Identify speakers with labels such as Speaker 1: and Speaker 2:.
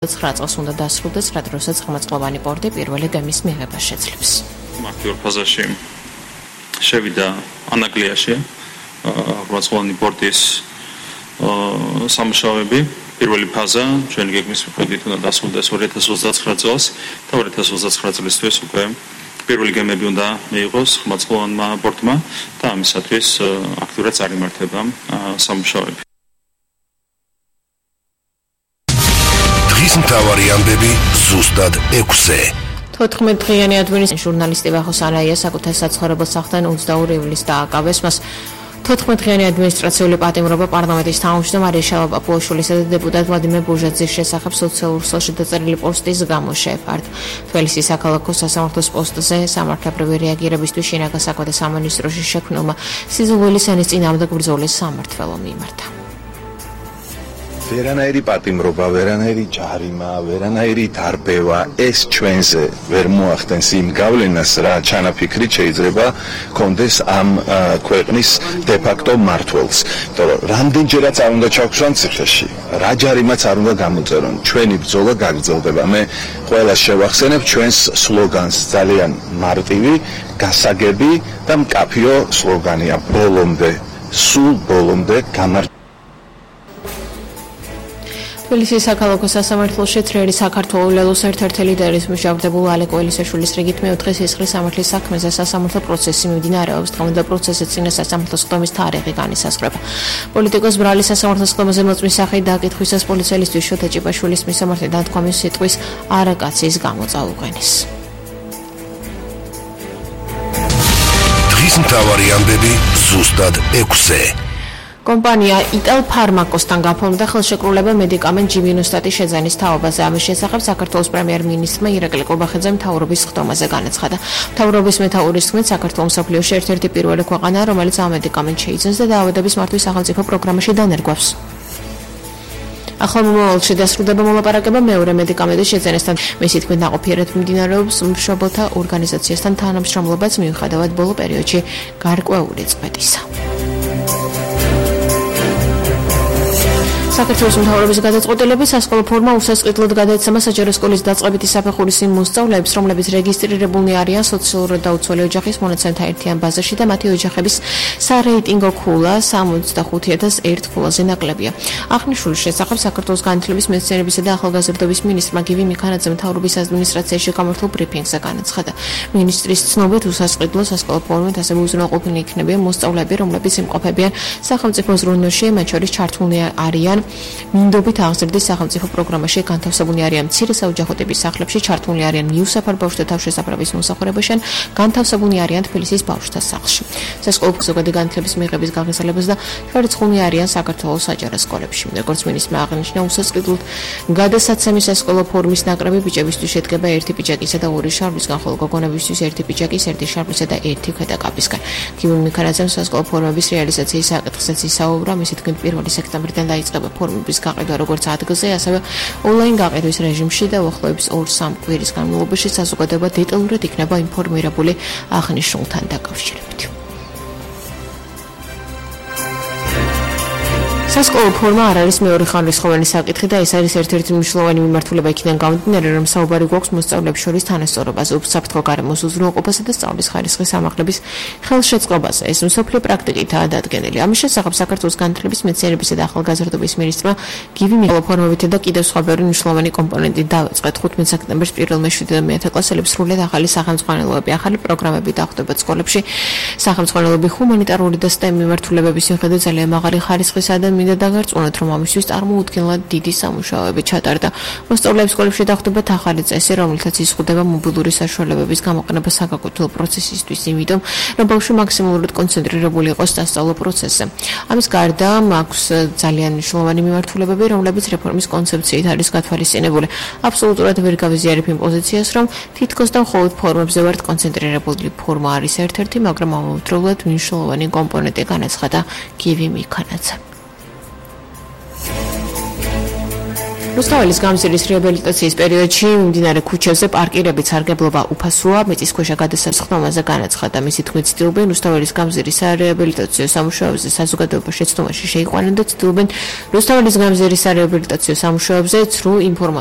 Speaker 1: 9 წელს უნდა დასრულდეს, რა დროსაც ხმაწყლოვანი პორტი პირველი გემის მიღებას შეძლებს.
Speaker 2: Აქტიურ ფაზაში შევიდა ანაგლიაში ხმაწყლოვანი პორტის სამუშაოები. პირველი ფაზა ჩვენი გეგმის მიხედვით უნდა დასრულდეს 2029 წელს და 2029 წლისთვის უკვე პირველი გემები უნდა მიიღოს ხმაწყლოვანმა პორტმა და ამისათვის აქტიურად წარიმართება სამუშაოები.
Speaker 3: დღის მთავარი ამბები ზუსტად 6-ზე.
Speaker 1: 14 დღიანი ადმინისტრაციის ჟურნალისტი ვახო სანაია საკუთარ საცხოვრებელ სახლთან 22 ივლისს დააკავეს. მას 14 დღიანი ადმინისტრაციული პატიმრობა პარლამენტის თავმჯდომარე შალვა პაპუაშვილისა და დეპუტატ ვლადიმერ ბუჟაძის შესახებ სოციალურ ქსელში დაწერილი პოსტის გამო შეეფარდა. თბილისის საქალაქო სასამართლოს პოსტზე სამართლებრივი რეაგირებისთვის შინაგან საქმეთა სამინისტროში შექმნილმა სიზულვილის ენის წინააღმდეგ ბრძოლის სამმართველო მიმართა.
Speaker 4: ვერანაირი პატიმრობა, ვერანაირი ჯარიმა, ვერანაირი დარბევა ეს ჩვენზე ვერ მოახდენს იმ გავლენას, რა ჩანაფიქრით შეიძლება კონდეს ამ ქვეყნის დე-ფაქტო მმართველს. რამდენჯერაც არ უნდა ჩავქვსვან ციხეში, რა ჯარიმაც არ უნდა გამოწერონ. ჩვენი ბრძოლა გაგრძელდება. მე ყველას შევახსენებ ჩვენს სლოგანს, ძალიან მარტივი, გასაგები და მკაფიო სლოგანია. ბოლომდე, სულ ბოლომდე გამარჯვება.
Speaker 1: თბილისის საქალაქო სასამართლოში წრიერი საქართველოს ერთ-ერთი ლიდერის მჟავდებულ ალეკო ელისაშვილის რიგით მეოთხე სისხლის სამართლის საქმეზე სასამართლო პროცესი მიმდინარეობს. დღემდე პროცესის წინა სასამართლოს ხდომის თარიღი განისაზღვრება. პოლიტიკოს ბრალი სასამართლოს ხდომაზე მოწმის სახით დააკითხვისას პოლიციელისთვის შოთა ჭიპაშვილის მისამართი დათქვამის სიტყვის არაკაციის გამო წაუყენეს.
Speaker 3: დღის მთავარი ამბები ზუსტად 6-ზე.
Speaker 1: კომპანია იტალფარმაკოსთან გაფორმდა ხელშეკრულება მედიკამენტ ჯიმინოსტატის შეძენის თაობაზე. ამის შესახებ საქართველოს პრემიერ-მინისტრმა ირაკლი ყურბახიძემ მთავრობის ხდომაზე განაცხადა. მთავრობის მეთაურის თქმით, საქართველოს მსოფლიოში ერთ-ერთი პირველი ქვეყანაა, რომელიც ამ მედიკამენტს შეიძენს და დაავადების მართვის სახელმწიფო პროგრამაში დანერგვავს. ახალ მომავალში დასრულდება მოლაპარაკება მეორე მედიკამენტის შეძენისთან. მისი თქმით, ნაყოფიერად მიმდინარეობს მშობელთა ორგანიზაციასთან თანამშრომლობაც მიუხედავად ბოლო პერიოდში გარკვეული წვეტისა. საქართველოს მთავრობის გადაწყვეტილებით სასკოლო ფორმა უსასყიდლოდ გადაეცემა საჯარო სკოლის დაწყებითი საფეხურის იმ მოსწავლეებს, რომლებიც რეგისტრირებულნი არიან სოციალურად დაუცველი ოჯახის მონაცემთა ერთიან ბაზაში და მათი ოჯახების სარეიტინგო ქულა 65,001 ქულაზე ნაკლებია. აღნიშნულის შესახებ საქართველოს განათლების, მეცნიერებისა და ახალგაზრდობის მინისტრმა გივი მიქანაძემ მთავრობის ადმინისტრაციაში გამართულ ბრიფინგზე განაცხადა. მინისტრის ცნობით უსასყიდლო სასკოლო ფორმით ასევე უზრუნველყოფილნი იქნებიან მოსწავლეები, რომლებიც იმყოფებიან სახელმწიფო ზრუნვაში, მათ შორის ჩართულნი არიან მინდობით აღზრდის სახელმწიფო პროგრამაში, განთავსებულნი არიან მცირე საოჯახო ტიპის სახლებში, ჩართულნი არიან მიუსაფარ ბავშვთა თავშესაფრების მომსახურებაში, განთავსებულნი არიან თბილისის ბავშვთა სახლში. სასკოლო ზოგადი განათლების მიღების გაგრძელებას და შერწყმული არიან საქართველოს საჯარო სკოლებში. როგორც მინისტრმა აღნიშნა, უსასყიდლოდ გადასაცემი სასკოლო ფორმის ნაკრები ბიჭებისთვის შედგება ერთი პიჯაკისა და ორი შარფისგან, ხოლო გოგონებისთვის ერთი პიჯაკის, ერთი შარფისა და ერთი ქვედაკაპისგან. გივი მიქანაძემ სასკოლო ფორმების რეალიზაციის საკითხზეც ისაუბრა. მისი თქმით, 1 სექტემბრიდან დაიწყება ფორმების გაყიდვა როგორც ადგილზე, ასევე ონლაინ გაყიდვის რეჟიმში და უახლოების 2-3 კვირის განმავლობაში საზოგადოება დეტალურად იქნება ინფორმირებული აღნიშნულთან დაკავშირებით. სასკოლო ფორმა არ არის მეორე ხანრისხოვანი საკითხი და ეს არის ერთ-ერთი მნიშვნელოვანი მიმართულება იქიდან გამომდინარე, რომ საუბარი გვაქვს მოსწავლეებს შორის თანასწორობაზე, უსაფრთხო გარემოს უზრუნველყოფასა და სწავლის ხარისხის ამაღლების ხელშეწყობაზე. ეს მსოფლიო პრაქტიკითაა დადგენილი. ამის შესახებ საქართველოს განათლების, მეცნიერებისა და ახალგაზრდობის მინისტრმა გივი ფორმებით და კიდევ სხვა ბევრი მნიშვნელოვანი კომპონენტი დავიწყეთ. 15 სექტემბერს 1-7 და 9 კლასელებს სრულად ახალი სახელმძღვანელოები, ახალი პროგრამები დახვდებათ სკოლებში. სახელმძღვანელოები ჰუმანიტარული და STEM მიმართულებების მიხედვით ძალიან მაღალი ხარისხისა და მინდა დაგარწმუნოთ, რომ ამისთვის წარმოუდგენლად დიდი სამუშაოები ჩატარდა. მოსწავლეებს სკოლებში დახვდებათ ახალი წესი, რომელთაც იზღუდება მობილური საშუალებების გამოყენება საგაკვეთილო პროცესისთვის, იმიტომ რომ ბავშვი მაქსიმალურად კონცენტრირებული იყოს სასწავლო პროცესზე. ამის გარდა აქვს ძალიან მნიშვნელოვანი მიმართულებები, რომლებიც რეფორმის კონცეფციით არის გათვალისწინებული. აბსოლუტურად ვერ გავიზიარებ იმ პოზიციას, რომ თითქოს და მხოლოდ ფორმებზე ვართ კონცენტრირებული. ფორმა არის ერთ-ერთი, მაგრამ ამავდროულად მნიშვნელოვანი კომპონენტი, განაცხადა გივი მიქანაძე. რუსთაველის გამზირის რეაბილიტაციის პერიოდში მიმდინარე ქუჩებზე პარკირებით სარგებლობა უფასოა. მიწისქვეშა გადასახადების ხდომაზე განაცხადა. მისი თქმით, ცდილობენ რუსთაველის გამზირის რეაბილიტაციო სამუშაოებზე საზოგადოება შეცდომაში შეიყვანონ და ცდილობენ რუსთაველის გამზირის რეაბილიტაციო სამუშაოებზე ცრუ ინფორმაცია